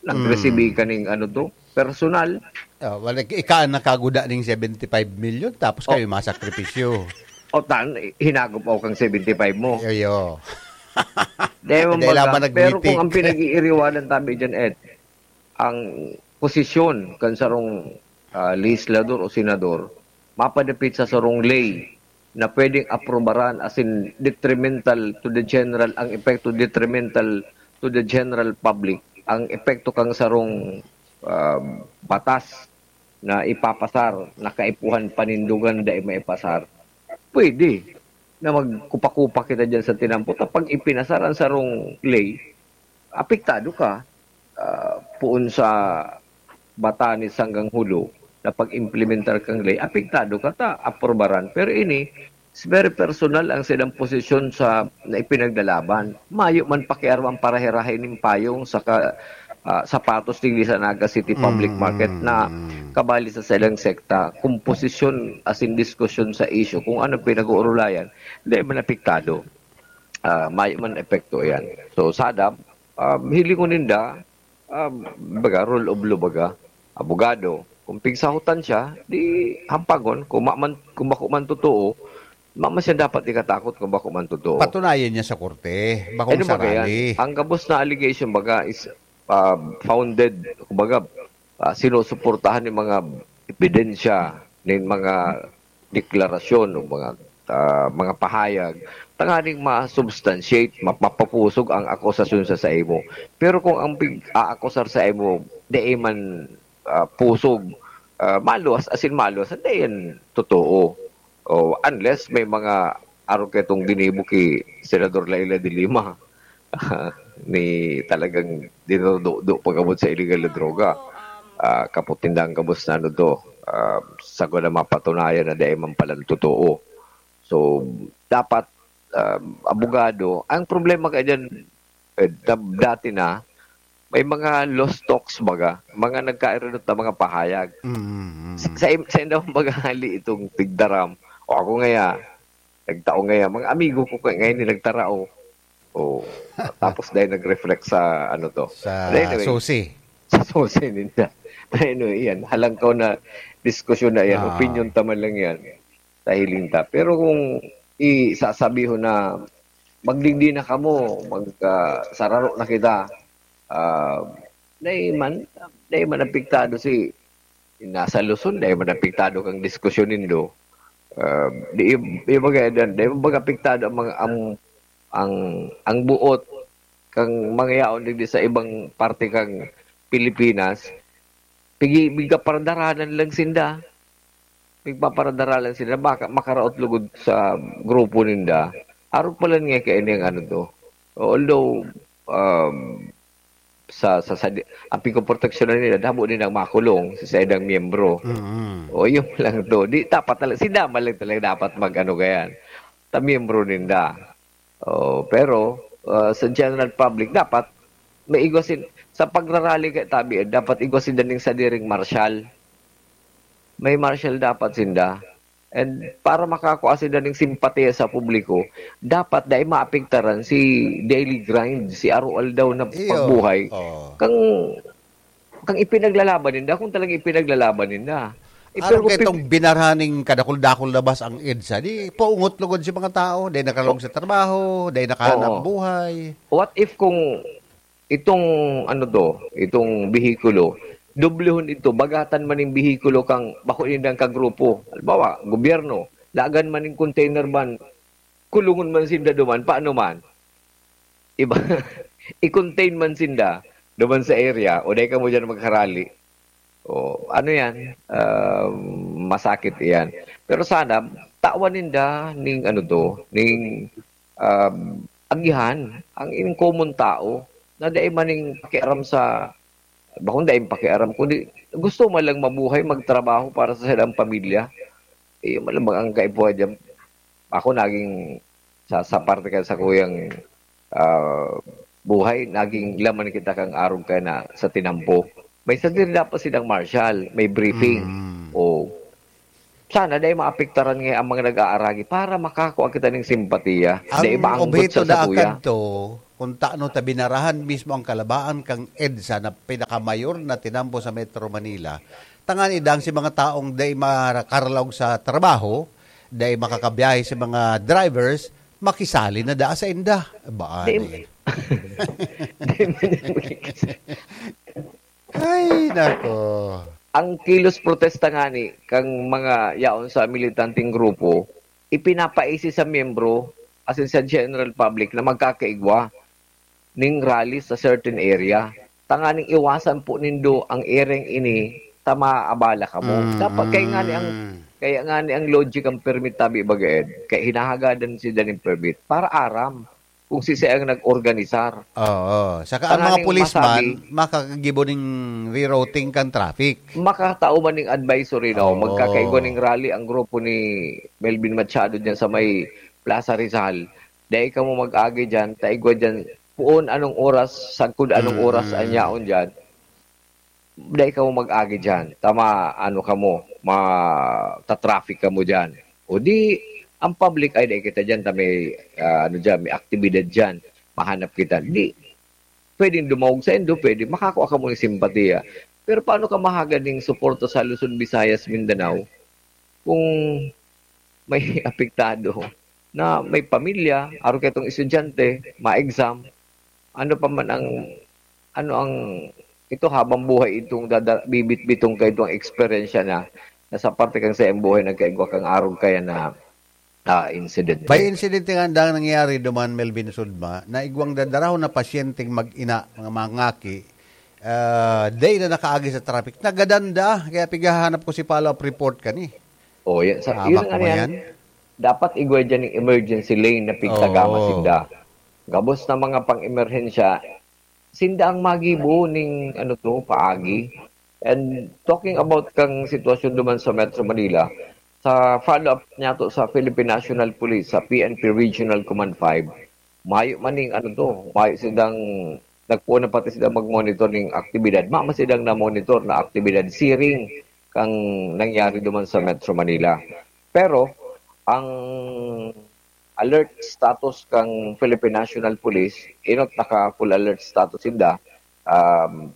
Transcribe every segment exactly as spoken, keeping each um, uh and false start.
Nagresibi ka ning ano to, personal. Oh, wala, ika ang nakaguda ning seventy-five million, tapos Oh. kayo masakripisyo. O tan, hinagop ako kang seventy-five mo. Iyo. Dahil Dahil baga, lamang pero nagmitik. kung ang pinag-iiriwanan tabi dyan, Ed, ang posisyon kan sarong, ah, legislador o senador, mapadapit sa sarong ley na pwedeng aprobaran, as in, detrimental to the general, ang epekto detrimental to the general public, ang epekto kang sarong, ah, batas na ipapasar, na kaipuhan panindugan, dai maipasar, pwede na magkupa-kupa kita dyan sa tinampo. Ta pag ipinasar ang sarong ley, apektado ka, ah, poon sa batanes hanggang hulo na pag-implementar kang ley, apektado ka ta aprobaran. Pero ini, it's very personal ang silang posisyon sa na ipinaglalaban. Mayo man pakiaram ang parahe-rahe nin payong sa ka-, ah, sapatos digdi sa Naga City Public Mm. Market na kabali sa silang sekta, komposisyon as in diskusyon sa issue kung ano pinag-uurulayan, dai man apektado. Ah, mayo man epekto yan. So, sada, um, hilingon ninda, um, baga, rule of law baga, abogado. Kung pigsahotan siya, di hampagon. Kung ma-, man, kung bako man totoo, ma-, man siya dapat ikatakot kung bako man totoo. Patunayan niya sa korte, bakong Ano baga yan? sarali. Ang gabos na allegation baga is, ah, founded, kumbaga, ah, sinusuportahan ng mga ebidensya, ng mga deklarasyon, o mga, ah, mga pahayag, tanganing ma-substantiate, ma-, mapapusog ang akusasyon sa saimo. Pero kung ang pig-aakusar sa imo, di man, ah, pusog, ah, maluwas, as in maluwas, hindi yan totoo. O, unless may mga arog kaitong ginibo ki Senador Leila de Lima, ni talagang dinudo-do pa gabod sa illegal na droga. Ah, kapot tindang gabos na ano to, ah, sagwa na mapatunayan na dai man palan totoo. So, dapat, ah, abogado, ang problema ka dyan, eh, da-, dati na, may mga lost talks baga, mga nagkairinot na mga pahayag. Mm, mm, Sa, mm. sa, im-, sa indang baga hali itong tigdaram, o ako ngaya, nagtao ngaya, mga amigo ko kaya ngayon yung nagtarao. O, tapos dahil nag-reflect sa ano to. Sa But anyway, susi. Sa susi ninda. But anyway, yan. Halangkaw na diskusyon na yan. Ah. Opinion ta man lang yan. Sa hiling ta. Pero kung isasabihon na magdigdi na kamo, mag, ah, sararo na kita, ah, dai man, dai man apektado si, nasa Luzon, dai man apektado kang diskusyon nindo. Ah, di, di baga, dai baga apektado ang mga, ang, ang, ang buot kang mga yaon digdi sa ibang parte kang Pilipinas. Pigi-, pigpaparadaranan lang sinda. Pigpaparadaranan sinda. Baka makaraot lugod sa grupo ninda. Arog pala nga kaini ang ano to. Although, um, sa, sa, sa, ang pigpoproteksyonan nila, damo din ang makulong sa saindang miyembro. Mm. O, yun lang to. Di, dapat talaga, sinda man lang talaga dapat mag-ano ganyan. Ta miyembro ninda. O, pero, ah, sa general public, dapat may igwa sin-, sa pagrarally kay tabi, dapat igwa sinda ning sadiring marshal. May marshal dapat sinda. And para makakua sinda ning simpatiya sa publiko, dapat dai maapektaran si daily grind, si araw-aldaw na Iyo. pagbuhay. Oo. Kang, kang ipinaglalaban ninda, kung talagang ipinaglalaban ninda. Eh, Arog pero kay kung itong binarhaning kadakul-dakul na bus ang EDSA, di paungot lugod si mga tao, dai nakalong sa trabaho, dai nakahanap Oo. buhay. What if kung itong, ano to, itong behikulo, doblehon ito, bagatan man ning behikulo kang bako nindang kagrupo. Halimbawa, gobyerno, lagan man ning container van, kulungon man sinda duman, paano man? Iba, i-contain man sinda duman sa area, o dai kamo diyan magkarali. O, ano yan? Ah, masakit iyan. Pero sana, tawan ninda ning ano to, ning, um, agihan, ang ining common tao, na dai man ning pakiaram sa, bakong dai pakiaram, kundi gusto man lang mabuhay, magtrabaho para sa silang pamilya. Eh, malamang ang kaipuhan dyan. Ako naging, sa, sa parte ka sa kuyang, ah, buhay, naging laman kita kang arog kaya na sa tinampo. May sadiri dapat silang marshal, may briefing. Mm. O, sana dai maapektaran nga ang mga nag-aaragi para makakua kita ning simpatiya. Ang Dai ba ang obheto gutsa sa da kuya? kadto, Kung taano ta binarahan mismo ang kalabaan kang EDSA na pinakamayor na tinampo sa Metro Manila, tangani dang si mga taong dai makarlaog sa trabaho, dai makakabiyahe sa mga drivers, makisali na daa sa inda. Baan Di- eh. Di man yan makikis- Ay, nako. Ang kilos protesta ngani kang mga yaon sa militanteng grupo, ipinapaisi sa miyembro, asin sa general public na magkakaigwa ning rally sa certain area. Tanganing iwasan po nindo ang ereng ini ta maabala kamo. Mm. Dapat kaya ngani ang, kaya ngani ang logic ang permit tabi baga, Ed. Kaya hinahagadan si daning permit para aram kung si siya ang nag-organisar. Oo. Saka ang mga Tanganing policeman, masabi, makakagibo ning rerouting kan traffic. Makatao man ning advisory, no? Oo. Magkakaigwa ning rally ang grupo ni Melvin Machado dyan sa may Plaza Rizal. Dai kamo mag-agi dyan, taigwa dyan, puon anong oras, sagkod anong Mm. oras an yaon dyan. Dai kamo mag-agi dyan. Tama, ano kamo, ma-, ta-traffic kamo dyan. O di, ang public, "Ay, dai kita dyan, ta may, ah, ano dyan, may aktibidad dyan. Mahanap kita." Di, pwedeng dumawog sa indo, pwede, makakua kamo ng simpatiya. Pero paano ka mahagad ning suporta sa Luzon, Visayas, Mindanao kung may apektado na may pamilya, aro kaitong estudyante, ma-exam? Ano pa man ang, ano ang, ito habang buhay itong dada-, bibit-bitong kaitong eksperyensya na, na sa parte kang saiyang buhay nagkaigwa kang arog kaya na, ah, incident. May insidente nga dang nangyari duman, Melvin Sudma, na igwang dadarahon na pasyenteng mag-ina, mga mangaki, ah, day na nakaagi sa traffic. Nagadanda, kaya pighahanap ko si follow-up report kani. Oh, yan. Sa, Tama yun ko nga yan. yan. Dapat igwa dyan yung emergency lane na pigtagama Oo. sinda. Gabos na mga pang-emerhensya, sinda ang magibo ning, ano to, paagi. And talking about kang sitwasyon duman sa Metro Manila, sa follow-up niya to sa Philippine National Police, sa P N P Regional Command five, mayo man ning, ano to, mayo silang, nagpuon na pati sila mag-monitor ning aktibidad. Mama silang na-monitor na aktibidad siring kang nangyari duman sa Metro Manila. Pero, ang alert status kang Philippine National Police, inot naka full alert status sinda, um,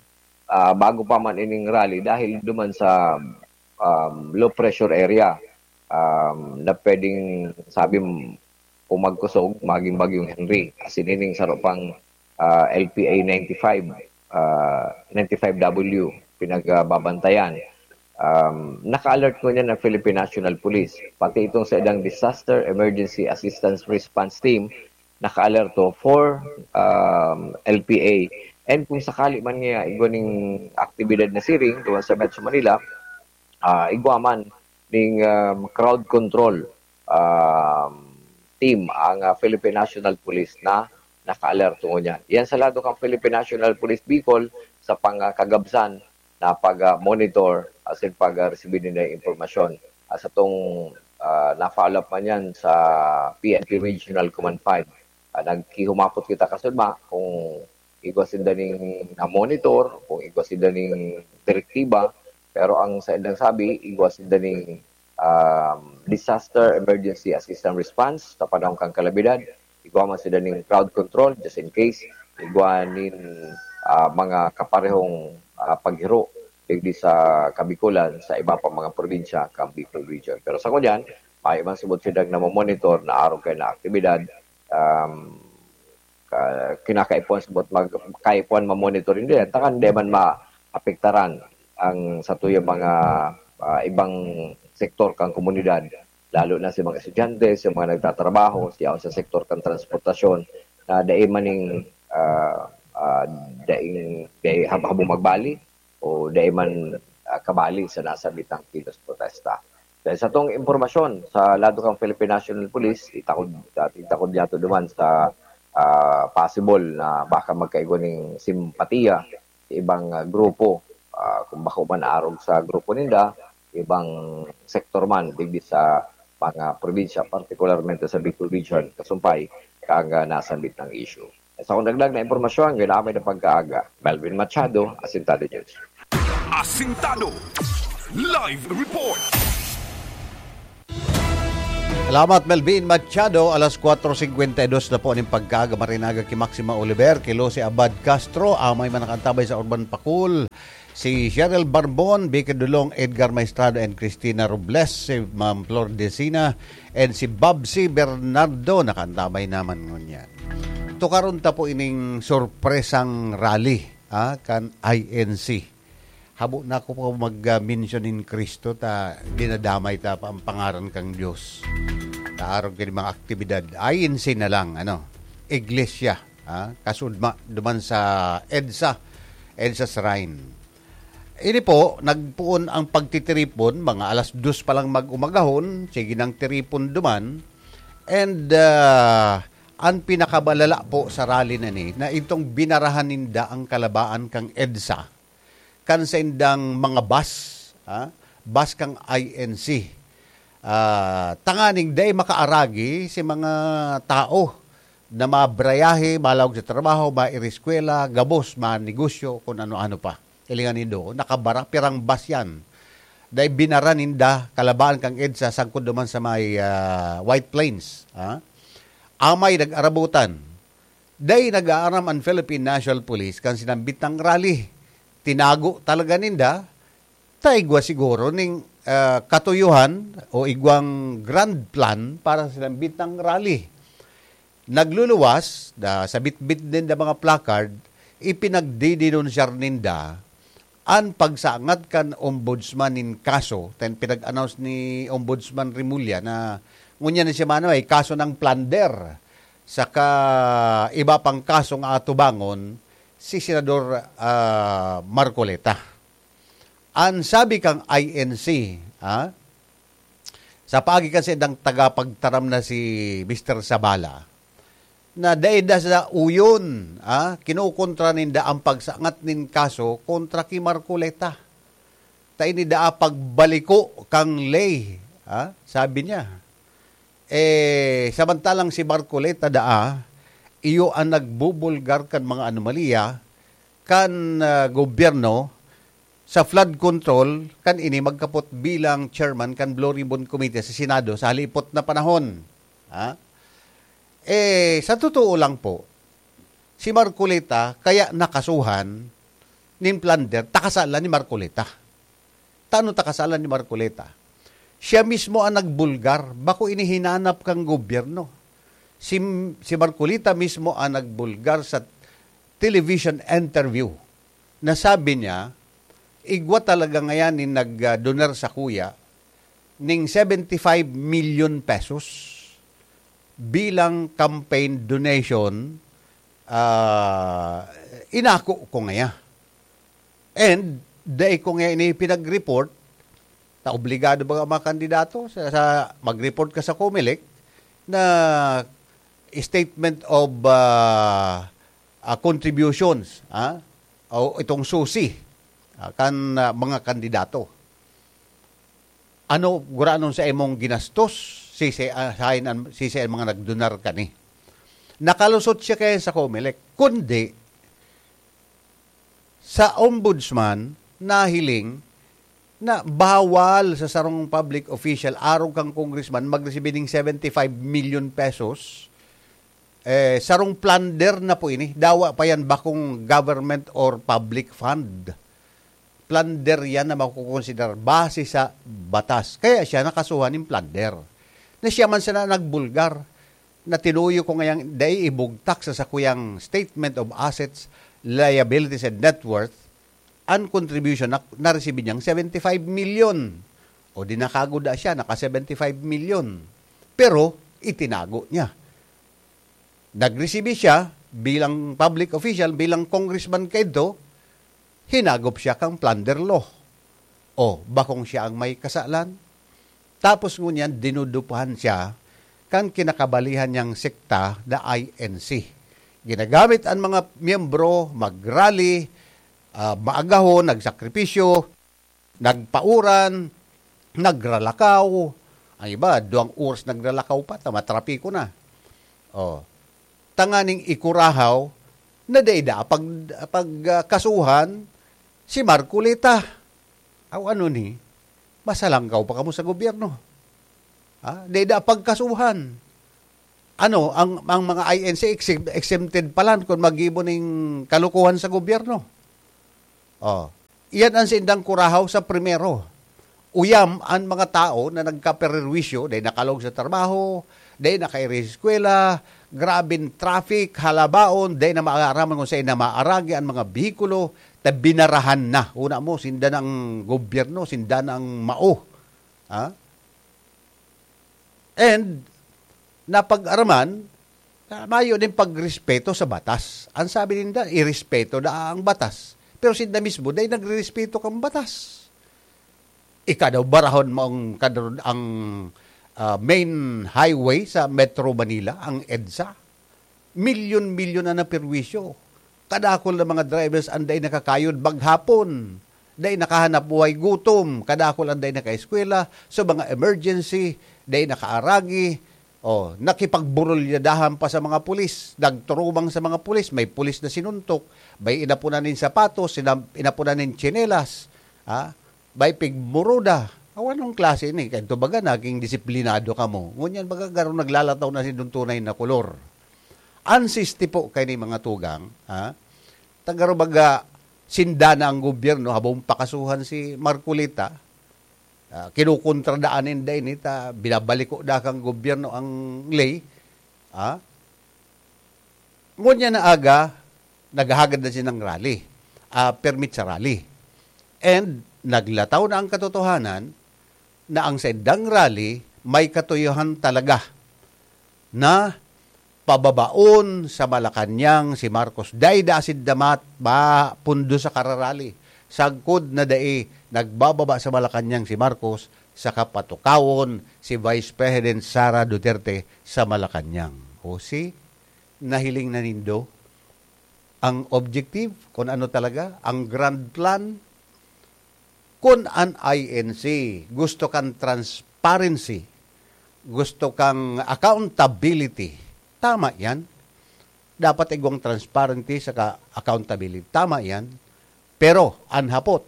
ah, bago pa man ining rally dahil duman sa, um, low pressure area, um, na pwedeng sabi m-, kung magkusog, maging Bagyong Henry. Asin ining saro pang, ah, L P A ninety-five, ah, ninety-five W, pinagbabantayan. Um, naka-alert ngunyan ang Philippine National Police. Pati itong sa ilang Disaster Emergency Assistance Response Team, naka-alerto for, um, L P A. And kung sakali man nga igwa ning aktibidad na siring duman sa Metro Manila, ah, igwa man ning, um, crowd control, um, team ang, ah, Philippine National Police na naka-alerto ngunyan. Yan sa lado kang Philippine National Police Bicol sa pangkagabsan na pag, ah, monitor asin pag, ah, resibi ninda yung impormasyon. Ah, sa tong, ah, na-follow up man yan sa P N P Regional Command five. Ah, nagkihumapot kita kasunma kung igwa sinda ning na-monitor, kung igwa sinda ning direktiba, pero ang sa indang sabi, igwa sinda ning, um, disaster emergency assistance response sa panahon kan kalamidad, igwa man sinda ning crowd control, just in case, igwa nin, ah, mga kaparehong, ah, paghiro digdi sa Kabikulan, sa iba pa mga probinsya kan Bicol Region. Pero sa ngunyan, mayo man subot sinda na monitor na arog kaya na aktibidad, um, ka-, kinakaipuhan subot mag-, kaipuhan ma-monitor, hindi, takan di man maapektaran ang satuyang mga, ah, ibang sektor kan komunidad, lalo na sa mga estudyante, sa mga nagtatrabaho, sa, sa sektor kan transportasyon, na dai maning, ah, ah, daing, dai hab-, habong magbali, o dai man, ah, kabali sa nasabitang kilos protesta. Dahil sa tong impormasyon, sa lado kang Philippine National Police, itakod, itakod niya to duman sa, ah, possible na baka magkaigwa ning simpatiya sa ibang, ah, grupo, ah, kung bako man arog sa grupo ninda, ibang sektor man, digdi sa mga probinsya, partikularmente sa Bicol Region, kasumpay, kang, ah, nasambit ng issue. Sa akong dagdag na impormasyon, ginamay na pagkaaga. Melvin Machado, Asintado News. Asintado Live Report. Salamat, Melvin Machado. Alas kwatro singkwenta y dos na po ning pagkaaga. Marinaga ki Maxima Oliver, ki Lucy Abad Castro, amay man nakaantabay sa Urban Pakul, si Cheryl Barbon, Vicky Dulong, Edgar Maestrado, and Christina Robles, si Ma'am Flor Decina, and si Babsi Bernardo, nakaantabay naman ngunyan. Tukaron ta po ining sorpresang rally, ah, kan I N C. Habo na ako pa mag-mention nin Cristo ta dinadamay ta pa ang pangaran kan Dios. Ta arog kini mga aktibidad, I N C na lang, ano, iglesia, ha? Kasudma duman sa EDSA, EDSA Shrine. Ini po, nagpoon ang pagtitiripon, mga alas dos pa lang mag-umagahon, sige nang tiripon duman. And, ah, ang pinakabalala po sa rally na ni, na itong binarahan ninda ang kalabaan kang EDSA, kan saindang mga bus, ha? Bus kang I N C. Ah, tanganing dai makaaragi si mga tao na mabrayahe, malaog sa trabaho, maireskwela, gabos, manegosyo, kun ano-ano pa. Hilingan nindo, nakabara, pirang bus yan. Dai binara ninda, kalabaan kang EDSA, sangkod duman sa may, ah, White Plains, ha? Amay nag-arabutan. Dai nag-aaram ang Philippine National Police kan sinambit nang rally. Tinago talaga ninda, ta igwa siguro ning, ah, katuyohan o igwang grand plan para sa sinambit nang rally. Nagluluwas, da, sa bitbit ninda mga placard, ipinagdidenunsyar ninda an pagsangat kan ombudsman nin kaso, ten pinag-announce ni Ombudsman Remulla na ngunyan na semana may kaso ng plunder, saka iba pang kaso nga atubangon si Senador, ah, Marcoleta. An sabi kang I N C, ah, sa paagi kan saindang tagapagtaram na si Mister Sabala, na dai da sa uyon, ah, kinukontra ninda ang pagsangat nin kaso kontra ki Marcoleta. Ta ini daa pagbaliko kang ley, ah, sabi niya. Eh, samantalang si Marcoleta daa, iyo ang nagbubulgar kan mga anomalya kan, ah, gobyerno sa flood control kan ini magkapot bilang chairman kan Blue Ribbon Committee sa Senado sa halipot na panahon. Ha? Eh, sa totoo lang po, si Marcoleta kaya nakasuhan nin plunder, ta kasalan ni Marcoleta. Tano ta kasalan ni Marcoleta? Siya mismo ang nagbulgar, bako ini hinanap kang gobyerno. Si, si Marcoleta mismo ang nagbulgar sa television interview na sabi niya, igwa talaga ngayan nin nag-donar sakuya ning seventy-five million pesos bilang campaign donation, ah, inako ko ngaya. And dai ko ngaya ini pinag-report, ta obligado ba ang mga kandidato sa, sa mag-report ka sa Comelec na statement of, ah, ah, contributions, ah, o itong susi, ah, kan, ah, mga kandidato. Ano gurano sa imong ginastos? Sisi, ah, sain an, sisi an mga nagdonar kani? Nakalusot siya kaya sa Comelec. Kundi, sa ombudsman, nahiling na bawal sa sarong public official, arog kang congressman, magresibi ning seventy-five million pesos. Eh, sarong plunder na po ini. Dawa pa yan bakong government or public fund. Plunder yan na makukonsiderar base sa batas. Kaya siya nakasuhan nin plunder. Na siya man sana nagbulgar, na tinuyo ko ngayang dai ibugtak sa sakuyang statement of assets, liabilities, and net worth, an contribution na naresibi niyang seventy-five million. O di nakaguda siya, naka seventy-five million. Pero itinago niya. Nagresibi siya bilang public official, bilang congressman kaidto, hinagop siya kang plunder law. O, bakong siya ang may kasalan? Tapos ngunyan, dinudupahan siya kan kinakabalihan niyang sekta na I N C. Ginagamit ang mga miyembro, mag-rally, ah, maagahon, nagsakripisyo, nagpauran, nagralakaw. Ang iba, duwang oras nagralakaw pa, ta matrapiko na. Oh. Tanganing ikurahaw na dai da pag, pag, ah, kasuhan si Marcoleta. Aw, ano ni? Masalangkaw pa kamo sa gobyerno. Ha? Dai da pagkasuhan. Ano, ang, ang mga I N C exemp-, exempted pa lang kung maggibo ning kalukuhan sa gobyerno. Oh. Iyan ang sindang kurahaw sa primero. Uyam an mga tao na nagkaperwisyo, dai nakalog sa trabaho, dai nakairiskwela, grabing traffic, halabaon, dai na maaraman kung saan na maaragi ang mga behikulo, ta binarahan na. Una mo, sinda na ang gobyerno, sinda na ang mao. Ha? And, napag-araman, na mayo din pagrespeto sa batas. Ang sabi ninda, irespeto na ang batas. Pero sinda mismo, dai nagrerespeto kang batas. Ika daw, barahon mo ang kadro-, ang, ah, main highway sa Metro Manila, ang EDSA. Milyon-milyon na naperwisyo. Kadakol na mga drivers ang dai nakakayod maghapon. Dai nakahanap buhay, gutom. Kadakol ang dai nakaeskwela. So, mga emergency, dai nakaaragi. Oh, nakipagburulyadahan pa sa mga pulis. Nagturubang sa mga pulis. May pulis na sinuntok. May inapunan nin sapatos, sina-, inapunan nin tsinelas. Ha? May pigmuruda. Aw, anong klase ni? Kaya ito baga, naging disiplinado ka mo. Ngunyan baga, garo naglalataw na si tunay na kolor. An sisti po kay ni mga tugang, ha? Tagaro baga, sinda na ang gobyerno, habong pakasuhan si Marcoleta, ah, kinukontra daan ninda ini, ta binabaliko da kang gobyerno ang ley, ha? Ngunyan na aga, naghahagad na sinang rally, ah, permit sa rally. And naglataw na ang katotohanan na ang saindang rally may katuyohan talaga na pababaon sa Malacañang si Marcos. Dai da asin damat ba pundo sa kararali. Sagkod na dai nagbababa sa Malacañang si Marcos, sa kapatukawon si Vice President Sara Duterte sa Malacañang. O si, nahiling na nindo ang objective, kung ano talaga, ang grand plan, kung an I N C, gusto kang transparency, gusto kang accountability, tama yan. Dapat igwang transparency saka accountability. Tama yan. Pero, an hapot,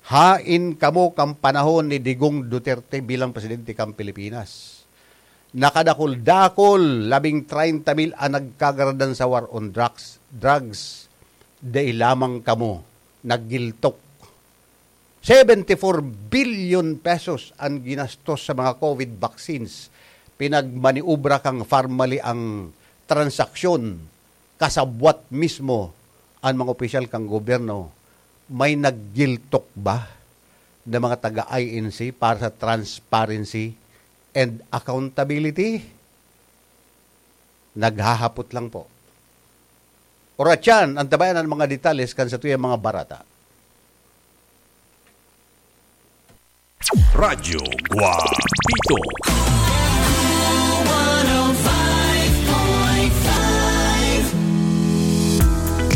hain kamo kan panahon ni Digong Duterte bilang presidente kan Pilipinas? Nakadakul-dakul, labing treinta mil an nagkagaradan sa war on drugs, drugs. Dai lamang kamo naggiltok. Seventy-four billion pesos an ginastos sa mga COVID vaccines. Pinagmaniobra kan Farmally ang transaksyon. Kasabwat mismo an mga opisyal kan gobyerno. May naggiltok ba na mga taga I N C para sa transparency and accountability? Naghahapot lang po. Oratyan, antabayan an mga detalles kan satuyang mga barata. Radyo Guapito.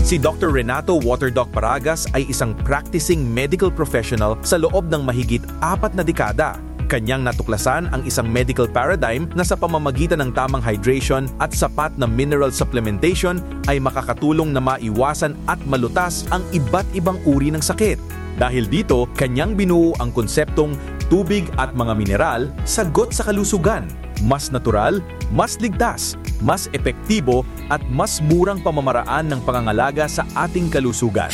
Si Doctor Renato Waterdoc Paragas ay isang practicing medical professional sa loob ng mahigit apat na dekada. Kanyang natuklasan ang isang medical paradigm na sa pamamagitan ng tamang hydration at sapat na mineral supplementation ay makakatulong na maiwasan at malutas ang iba't ibang uri ng sakit. Dahil dito, kanyang binuo ang konseptong tubig at mga mineral, sagot sa kalusugan. Mas natural, mas ligtas, mas epektibo, at mas murang pamamaraan ng pangangalaga sa ating kalusugan.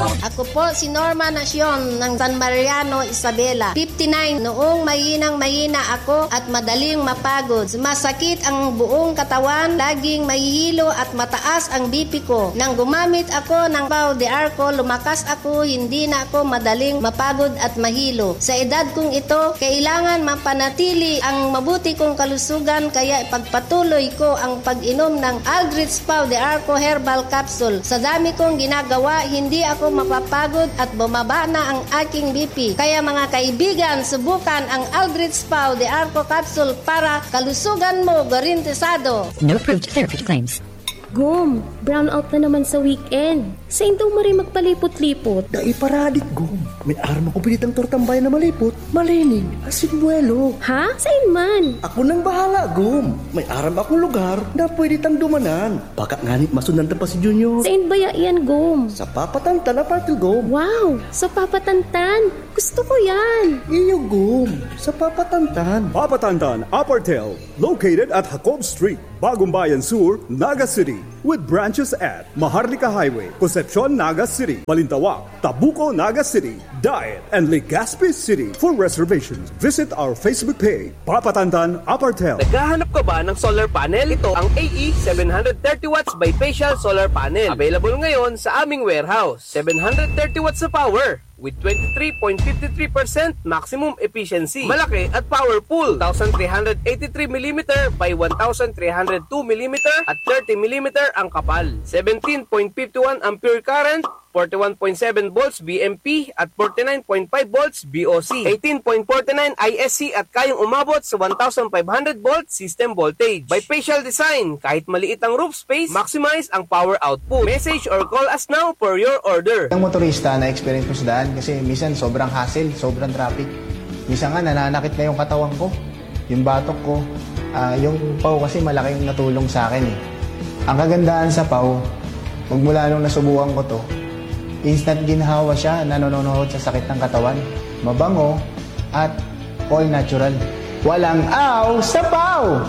Ako po si Norma Nacion ng San Mariano, Isabela. Fifty-nine. Noong mahinang mahina ako at madaling mapagod. Masakit ang buong katawan, laging mahihilo at mataas ang B P ko. Nang gumamit ako ng Pau de Arco, lumakas ako, hindi na ako madaling mapagod at mahilo. Sa edad kong ito, kailangan mapanatili ang mabuti kong kalusugan, kaya ipagpatuloy ko ang pag-inom ng Aldrich Pau de Arco Herbal Capsule. Sa dami kong ginagawa, hindi ako mapapagod at bumaba na ang aking B P. Kaya, mga kaibigan, subukan ang Aldrich Pau de Arco Capsule para kalusugan mo garantisado. No approved therapy claims. Gum, Brownout na naman sa weekend. Sain daw maray magpalipot-lipot? Dai pa radik, Gom. May aram akong pinitang tortang bayan na malipot, malinig, asin buwelo. Ha? Sain man? Ako nang bahala, Gom. May aram akong lugar na pwede tang dumanan. Baka ngani masundan ta pa si Junior. Sain baya yan, Gom? Sa Papatantan Apartel, Gom. Wow! Sa Papatantan! Gusto ko yan! Iyo, Gom. Sa Papatantan. Papatantan Apartel, located at Jacob Street, Bagumbayan Sur, Naga City, with branches at Maharlika Highway, Concepcion, Naga City, Balintawak, Tabuco, Naga City, Daet, and Legazpi City. For reservations, visit our Facebook page, Papatantan Apartel. Naghahanap ka ba ng solar panel? Ito ang A E seven hundred thirty watts bifacial solar panel. Available ngayon sa aming warehouse. Seven hundred thirty watts na power with twenty-three point five three percent maximum efficiency. Malaki at powerful. Two thousand three hundred eighty-three millimeter by one thousand three hundred two millimeter at thirty millimeter ang kapal. Seventeen point five one ampere current, forty-one point seven volts V M P at forty-nine point five volts V O C. Eighteen point forty-nine I S C at kayang umabot sa one thousand five hundred volt system voltage. Bifacial design, kahit maliit ang roof space, maximize ang power output. Message or call us now for your order. Ang motorista na experience ko sa daan kasi minsan sobrang hassle, sobrang traffic. Minsan nga nananakit na yung katawan ko, yung batok ko. Ah, yung paw kasi malaking natulong sa akin eh. Ang kagandahan sa paw, magmula nung nasubukan ko to, instant ginhawa siya na nanonohod sa sakit ng katawan. Mabango at all natural. Walang aw sa paw!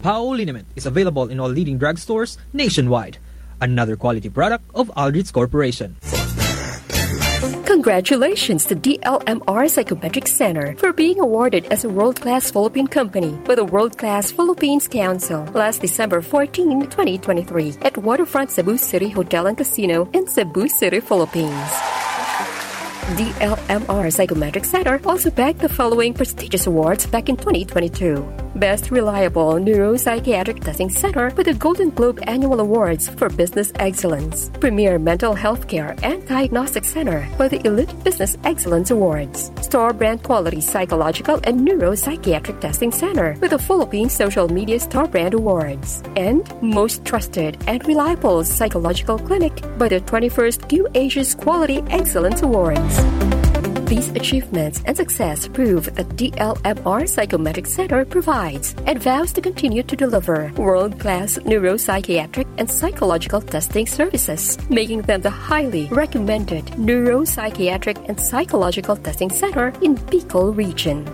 Pao liniment is available in all leading drugstores nationwide. Another quality product of Aldrich Corporation. Congratulations to D L M R Psychometric Center for being awarded as a world-class Philippine company by the World Class Philippines Council last December fourteen, twenty twenty-three, at Waterfront Cebu City Hotel and Casino in Cebu City, Philippines. D L M R Psychometric Center also bagged the following prestigious awards back in twenty twenty-two: Best Reliable Neuropsychiatric Testing Center with the Golden Globe Annual Awards for Business Excellence, Premier Mental Health Care and Diagnostic Center with the Elite Business Excellence Awards, Star Brand Quality Psychological and Neuropsychiatric Testing Center with the Philippine Social Media Star Brand Awards, and Most Trusted and Reliable Psychological Clinic by the twenty-first Q Asia's Quality Excellence Awards. These achievements and success prove that D L M R Psychometric Center provides and vows to continue to deliver world-class neuropsychiatric and psychological testing services, making them the highly recommended neuropsychiatric and psychological testing center in Bicol region.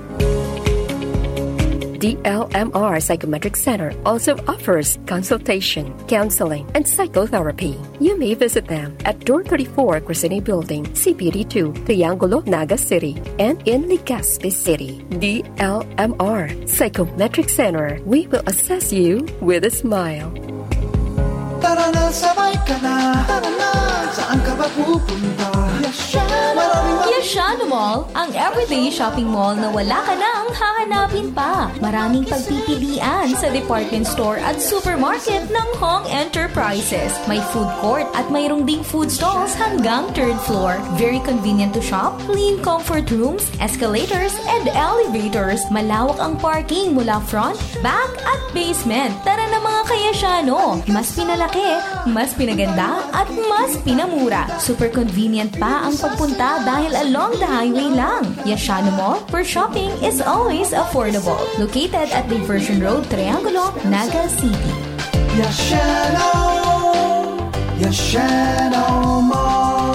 D L M R Psychometric Center also offers consultation, counseling, and psychotherapy. You may visit them at Door thirty-four, Crescene Building, C P D two, Triangulo, Naga City, and in Legazpi City. D L M R Psychometric Center, we will assess you with a smile. Tara na, sabay ka na. Tara na, saan ka ba pupunta? Yashano! Maraming Yashano Mall, ang everyday shopping mall na wala ka nang hahanapin pa. Maraming pagpipilian sa department store at supermarket ng Hong Enterprises. May food court at mayroong ding food stalls hanggang third floor. Very convenient to shop, clean comfort rooms, escalators, and elevators. Malawak ang parking mula front, back, at basement. Tara na, mga Kayashano! Mas pinalaki, mas pinaganda, at mas pinamura. Super convenient pa ang pagpunta dahil along the highway lang. Yashano Mall, where shopping is always affordable. Located at Diversion Road, Triangulo, Naga City. Yashano! Yashano Mall!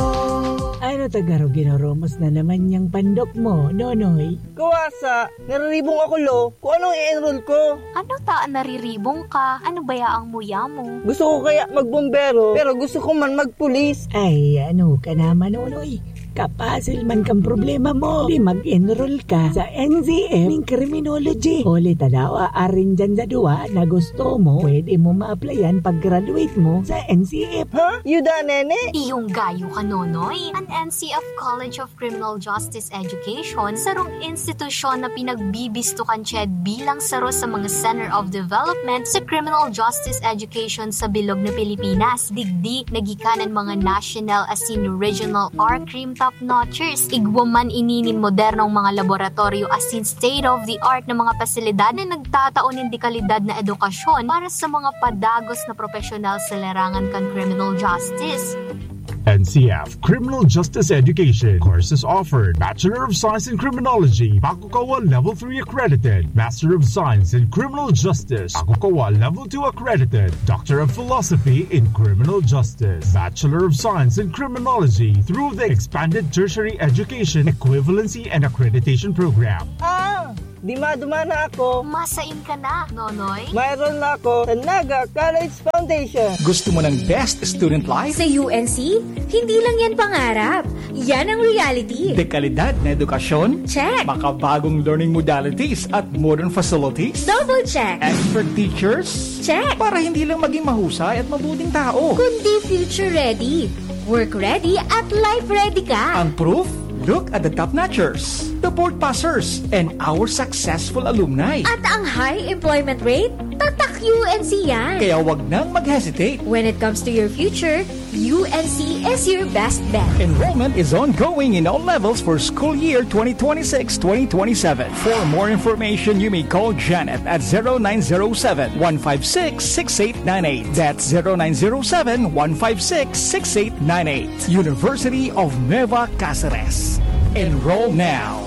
Ano ta garo, ginoromos na naman yang pandok mo, Nonoy? Kawasa, nariribong ako, lo. Kung anong i-enroll ko. Ano ta an nariribong ka? Ano baya ang muya mo? Gusto ko kaya magbombero, pero gusto ko man magpulis. Ay, ano ka naman, Nonoy? Kapasil man kang problema mo. Di mag-enroll ka sa N C F ning criminology. Huli ta daw, arin dyan sa duwa na gusto mo, pwede mo ma-applyan pag-graduate mo sa N C F. Ha? Yuda, nene? Iyong gayo ka, Nonoy. An N C F College of Criminal Justice Education, sarong institusyon na pinagbibisto kan CHED bilang saro sa mga Center of Development sa Criminal Justice Education sa bilog na Pilipinas. Digdi, nagikanan mga national asin regional R-Crim top-notchers. Igwa man ini nin modernong mga laboratoryo asin state-of-the-art na mga pasilidad na nagtatao nin dekalidad na edukasyon para sa mga padagos na profesional sa larangan kan criminal justice. N C F, Criminal Justice Education. Courses offered: Bachelor of Science in Criminology, Pakukawa Level three accredited, Master of Science in Criminal Justice, Pakukawa Level two accredited, Doctor of Philosophy in Criminal Justice, Bachelor of Science in Criminology through the Expanded Tertiary Education Equivalency and Accreditation Program. Ah! Dima-duma na ako. Masain ka na, Nonoy? Mayroon na ako sa Naga College Foundation. Gusto mo ng best student life? Sa U N C, hindi lang yan pangarap. Yan ang reality. Dekalidad na edukasyon? Check. Makabagong learning modalities at modern facilities? Double check. Expert teachers? Check. Para hindi lang maging mahusay at mabuting tao. Kundi future ready, work ready at life ready ka. Ang proof? Look at the top notchers, the board passers, and our successful alumni. At ang high employment rate? Tatak U N C yan. Kaya wag nang mag-hesitate. When it comes to your future, U N C is your best bet. Enrollment is ongoing in all levels for school year twenty twenty-six twenty twenty-seven. For more information, you may call Janet at zero nine zero seven, one five six, six eight nine eight. That's zero nine zero seven, one five six, six eight nine eight. University of Nueva Caceres. Enroll now.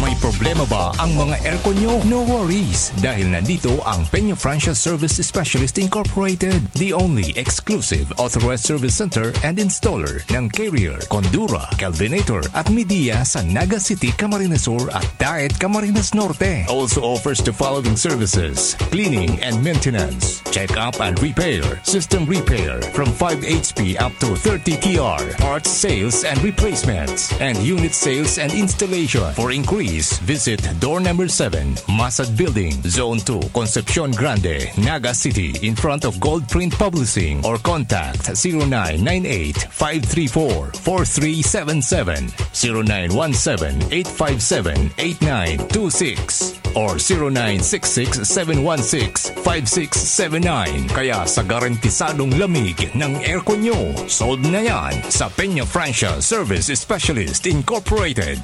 May problema ba ang mga aircon nyo? No worries, dahil nandito ang Peña Francia Service Specialist Incorporated, the only exclusive authorized service center and installer ng Carrier, Condura, Kelvinator at Midea sa Naga City, Camarines Sur at Daet, Camarines Norte. Also offers the following services: cleaning and maintenance, check-up and repair, system repair from five H P up to thirty T R, parts sales and replacements, and unit sales and installation. For inquiries, visit door number seven, Masad Building, Zone two, Concepcion Grande, Naga City, in front of Gold Print Publishing, or contact zero nine nine eight, five three four, four three seven seven, zero nine one seven, eight five seven, eight nine two six or zero nine six six, seven one six, five six seven nine. Kaya sa garantisadong lamig ng aircon nyo, solve na yan sa Peña Francia Service Specialist Incorporated.